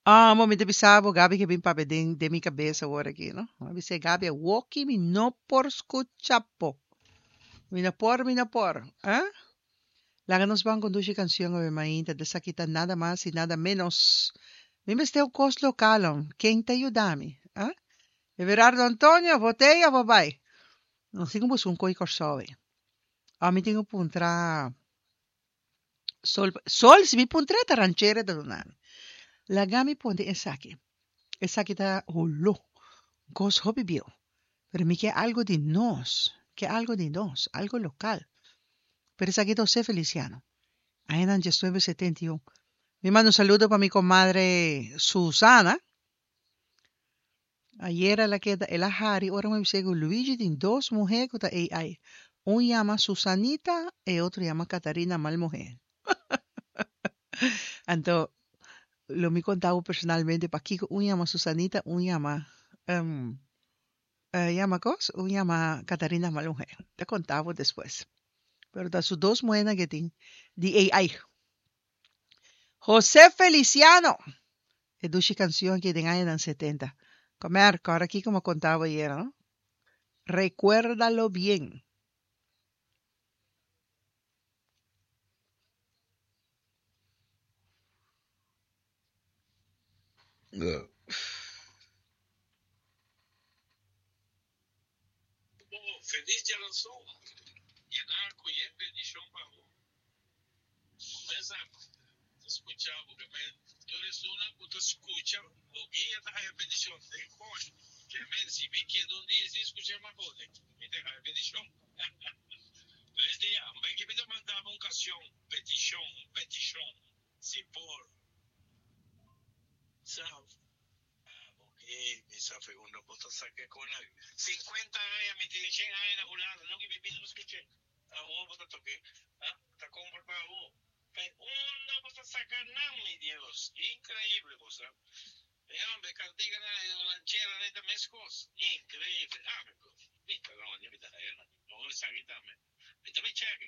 Amo, mi ta bisa bo, Gabi ke bin papia den den mi kabes awor aki, no? Mi a bis'é, Gabi, awoki mi no por skucha bo. Mi no por, mi no por. Eh? Laga nos ban kondushi kanshon awe mainta, esaki ta nada mas i nada ménos. Mi mester un kos lokal, hom. Ken ta yuda mi? Eh? Everardo Antonio, bo t'ei of bo bai? Nos tin ku buska un koi Kòrsou ei. Ò mi tin ku puntra Sol, Sol, si mi puntra ta ranchera ta duna mi. Laga mi pone esaki. Esaki ta holó, un kos hopi bieu. Pero mi ke algo di nos, ke algo di nos, algo lokal. Pero esaki ta José Feliciano. Añanan diesnuebe setenta i un. Mi manda un saludo pa mi komadre Susana. Ayera el a keda, el a hari ora mi bis'é ku Luigi tin dos muhé ku ta AI. Un yama Susanita, e otro yama Catarina mal muhé. Anto lo mi konta bo personalmente pakiko un yama Susanita, un yama yama kos? Un yama Catarina mal muhé. Ta konta bo despues. Pero ta su dos muhénan ke tin di AI. José Feliciano! E dushi canción aki den añanan setenta. Comer, cora kico mi a conta bo ayer, no? Recuérdalo bien. Feliz djaranson yena ku yen bendishon pa bo. Mesa ta skucha bo ke men tur esunnan ku ta skucha bo guia ta haya bendishon den hoy ke men si mi keda un dia sin skucha mas bo mi ta haya bendishon. Feliz dia ben ke mi ta manda bo un kanshon petishon petishon si por sa. Oke, mi sa fe unda bo ta saka e kona. Sinkuenta aña mi tin shen aña na Hulanda, nunka mi bisa bo skuch'é. Awor bo ta toke, ah, ta kompra pa abo. Fe unda bo ta saka nan, mi Dios. Inkreibel bo sa. E homber, kantikanan, e rancheranan ta meskos. Inkreibel. Ah, mi ta roña, mi ta haya nan. Awor esaki tambe. Mi ta bai chèk.